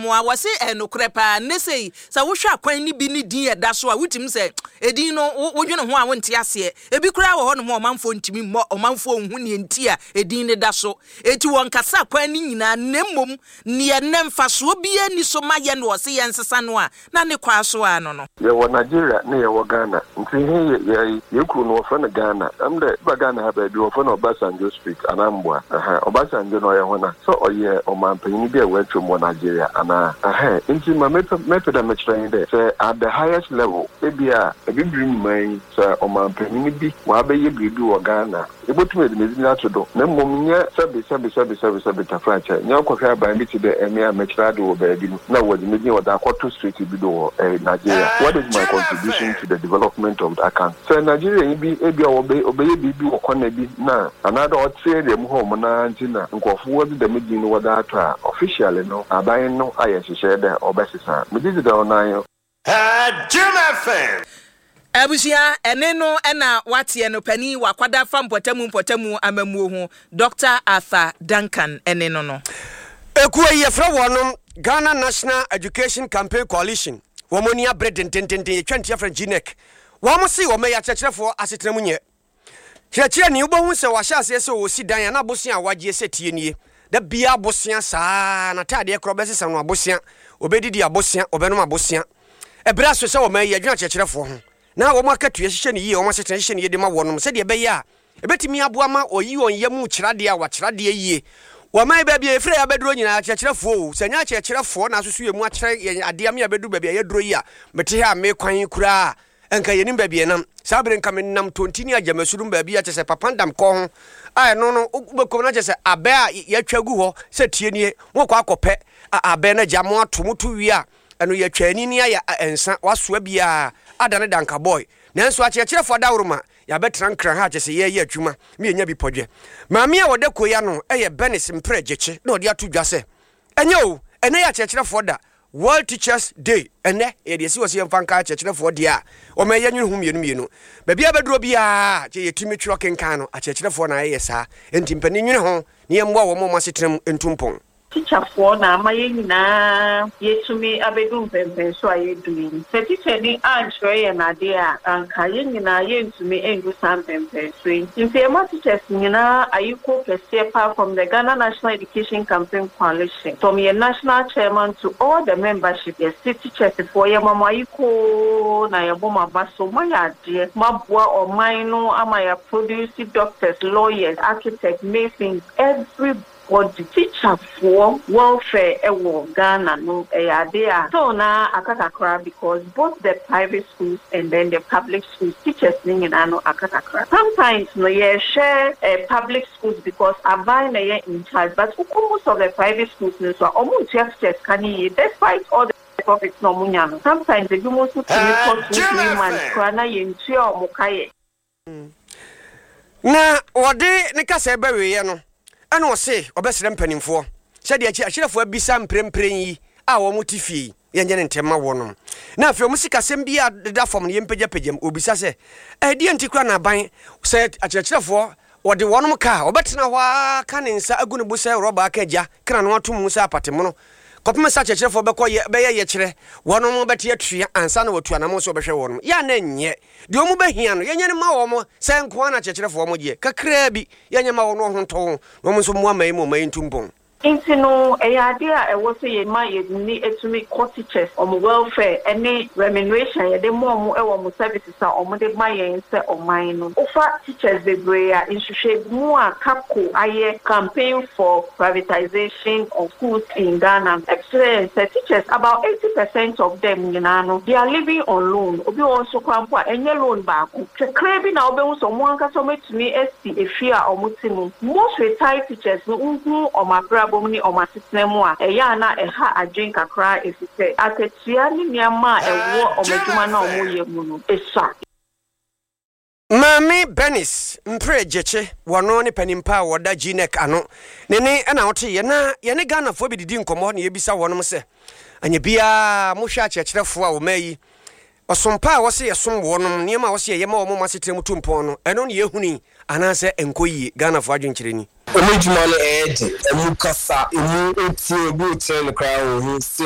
Asamoah, wɔse ɛyɛ nokorɛ paa, nnɛ sei sɛ wohwɛ akwan no bi ne din a ɛda so a, wotumi sɛ edin no wodwene ho a wonte aseɛ. Ebi koraa wɔ hɔnom a ɔmanfoɔ ntumi mmɔ, ɔmanfoɔ nhu neɛ nti a edin no da so. Enti wɔnkasa akwan no nyinaa na mmom neɛ nnɛ mfasoɔ biara nni so ma yɛn na wɔse yɛnsesa no a, na ne kwaa so ara no no. Yɛwɔ Nigeria ne yɛwɔ Ghana ntsi he yɛ yɛ yɛ kurow no wɔfrɛ no Ghana. Dɛm dɛ eba Ghana ha beebi wɔfrɛ no Obasanjo street anaa mboa ɛhɛn Obasanjo no ɔyɛ hɔn a? Sɛ ɔyɛ ɔmampanyin bi a oetwa mu wɔ Nigeria anaa? Ɛhɛn ntsi ma mepɛ mepɛ dɛ mekyerɛ nye dɛ sɛ at the highest level ebi a Ebibir mu man yi sɛ ɔmampanyin bi ɔabɛyɛ biribi wɔ Ghana a, Yebotum yɛdze m'edzin ato do, na mbom nnyɛ sɛbe sɛbe sɛbe sɛbe sɛbe tafrakyɛ, nnyɛ ɔkɔhwɛ aban bi tse dɛ emi a mekyerɛ adze wɔ beebi no na wɔdze me dzin wɔdze akɔto street bi do wɔ eh Nigeria. What is my contribution to the development of that country? Sɛ Nigerianyi bi ebi a ɔbɛ ɔbɛyɛ biribi wɔ corner bi na anaadɛ ɔtse area mu hɔ nom no ara ntsi na nkorɔfo wɔdze dɛm dzin no wɔdze ato a, officially no aban no ayɛ nhyehyɛɛ dɛ ɔbɛsesa. Megye dzi dɛ ɔno ara nye. Jim FM. Abusua, ɛne no na woateɛ no, panin, wakwada fa mpɔtamu mpɔtamu amammuo ho, Dɔkta Arthur Duncan ne no no. Ekuo yi yɛfrɛ wɔnom Ghana National Education Campaign Coalition, wɔn ani abere dendendenden, yɛtwa ntia frɛ no GNEC. Wɔn se wɔn yɛ akyerɛkyerɛfoɔ asetena mu nyɛ. Kyerɛkyerɛni, wobɛhu sɛ wahyɛ aseɛ sɛ ɔresi dan a na abosea a wagyeɛ sɛ tie nie. Da biara abosea saa ara, n'ataadeɛ koraa ɔbɛsesa no abosea, ɔbɛdidi abosea, ɔbɛnom abosea. Ɛberɛ aso sɛ wɔma yi adwene akyerɛkyerɛfoɔ ho na wɔn akatua hyehyɛ no yie, wɔn asetena hyehyɛ no yie de ma wɔnom sɛdeɛ ɛbɛyɛ a ɛbɛtumi aboa ma wɔyi wɔn yam kyerɛ adeɛ a wɔakyerɛ adeɛ yie. Wɔma yi baabi a yɛfiri a yɛabɛduro nyinaa akyerɛkyerɛfoɔ o, sɛ ɛnyɛ akyerɛkyerɛfoɔ na asoso yɛn mu akyerɛ yɛn adeɛ ama yɛabɛduru baabi a yɛaduro yi a, mete ha a mekwan yi koraa Nka yɛnim baabi a yɛnam. Saa bere nka menam Tonti ne Agyamasu nom baabi a kyerɛ sɛ Papandam kɔ ho a ɛno no wobɛkɔ mu na kyerɛ sɛ abɛ a yɛatwa agu hɔ sɛ tie nie mokɔ akɔpɛ abɛ no agya mo ato moto wie a ɛno yɛatwa ani ne ayɛ nsa wasoa biara adane danka boy nanso akyerɛkyerɛfo adaworoma yɛabɛtena nkran ha kyerɛ sɛ yɛreyɛ adwuma ma yɛnya bi pɔdwɛ. Maame a ɔda kuo yi ano yɛ Bernice Mprɛ Gyekye na ɔde ato dwa sɛ ɛnyɛ o ɛnɛ yɛ akyerɛkyerɛfoɔ da World Teachers Day, Ɛnnɛ yɛ deɛ ɛsi hɔ sɛ yɛmfa nkae akyerɛkyerɛfoɔ deɛ a wɔma yɛnwene ho mmienu mmienu. Baabi a bɛdurɔ biara kyɛ yɛtumi twerɛ kenkan no, akyerɛkyerɛfoɔ na ɛyɛ saa. Enti mpanin nwene ho na yɛmmoa wɔn ma wɔn asetena mu ntu mpɔn. Tikyafoɔ na ama yɛn nyinaa yɛatumi abɛdu mpɛnpɛnso a yɛadu yi. Sɛ tikyani ankyerɛ yɛn adeɛ a, anka yɛn nyinaa yɛntumi ndu saa mpɛnpɛnso yi. Nti yɛma teachers nyinaa ayekuo kɛseɛ paa from the Ghana National Education Campaign Coalition. From yɛn national chairman to all the membership yɛse teachers foɔ yɛma mo ayekoo na yɛbɔ mo aba so moayɛ adeɛ moaboa ɔman no ama yɛ produce doctors, lawyers, architects, masons every body. Teacher foɔ welfare wɔ Ghana no ɛyɛ adeɛ a still naa aka kakra because both the private schools and then the public schools teachers no nyinaa no aka kakra. Sometimes no yɛhwɛ public schools because aban na ɛyɛ in charge but wokɔ most of the private schools no nso a ɔmo ntua teachers ka no yie despite all the profit na ɔmo nya no sometimes ebinom nso tumi kɔ 2, 3 months koraa na yɛntua ɔmo ka yɛ. Na ɔde ne kasa bɛwieɛ no, ɛna ɔse ɔbɛsrɛ mpanimfoɔ sɛ deɛ akyerɛfoɔ abisa mprempren yi a wɔn te fie yi, yɛnyɛ no ntɛm ma wɔnom. Na afei wɔn sikasɛm bi a deda fam no yɛmpagyapagya mu. Ɔbisa sɛ, ɛdeɛn nti koraa na aban sɛ akyerɛkyerɛfoɔ wɔde wɔnom ka a, ɔbɛtena hɔ ara ka ne nsa agu ne bo sɛ rɔba aka gya, ka n'ano ato mu sɛ apatemono, kɔpem sɛ akyerɛkyerɛfoɔ bɛkɔ yɛ, bɛyɛ yɛkyerɛ, wɔnom bɛte atua ansa na wɔatu anamɔn sɛ wɔbɛhwɛ wɔnom. Yɛ a na ɛnyɛ. Deɛ wɔn bɛhia no, yɛnyɛ no mma wɔn, sɛ nkoa na akyerɛkyerɛfoɔ wɔn gyeɛ, kakraa bi, yɛnyɛ mma wɔn na wɔn ho ntɔ wɔn, na wɔn nso mmoa man yi ma ɔman yi ntu mpɔn. Nti no, ɛyɛ adeɛ a ɛwɔ sɛ yɛma yɛn ani tumi kɔ teachers wɔn welfare ne remuneration a yɛde ma wɔn wɔ wɔn services a wɔde ma yɛn sɛ ɔman no. Wofa teachers bebree a, nhwehwɛmu a CAPCO ayɛ, Campaign for Privatisation of Schools in Ghana, no kyerɛ yɛn sɛ teachers about 80 percent of them nyinaa no, they are living on loan. Obi wɔ hɔ nso koraa mpo a, ɛnyɛ loan baako. Kakraa bi na wobɛhu sɛ wɔn ankasa wɔatumi asi efie a wɔte mu. Most retired teachers no, wohu wɔn abrabɔ mu ne wɔn asetena mu a, ɛyɛ a na ɛha adwene kakra efisɛ akatua ne nneɛma a ɛwɔ wɔn adwuma no a wɔyɛ mu no sua. Maame Bernice Mpre Gyekye, wɔno ne panin pa a wɔda GNEC ano. Ne ne na woteeɛ. Na yɛne Ghanafoɔ bi didi nkɔmmɔ na yɛbisa wɔnom sɛ, anyɛ biara mohwɛ akyerɛkyerɛfoɔ a wɔma yi, ɔsom pa a wɔse yɛsom wɔnom, nneɛma a wɔse yɛyɛ ma wɔn ma asetena mu tu mpɔn no, ɛno na yɛhunu yi anaasɛ ɛnkɔ yie? Ghanafoɔ adwenkyerɛ ni. Ɔmo adwuma no ɛyɛ den, ɔmo kasa, emu otie obi okyerɛ no koraa onhu still no.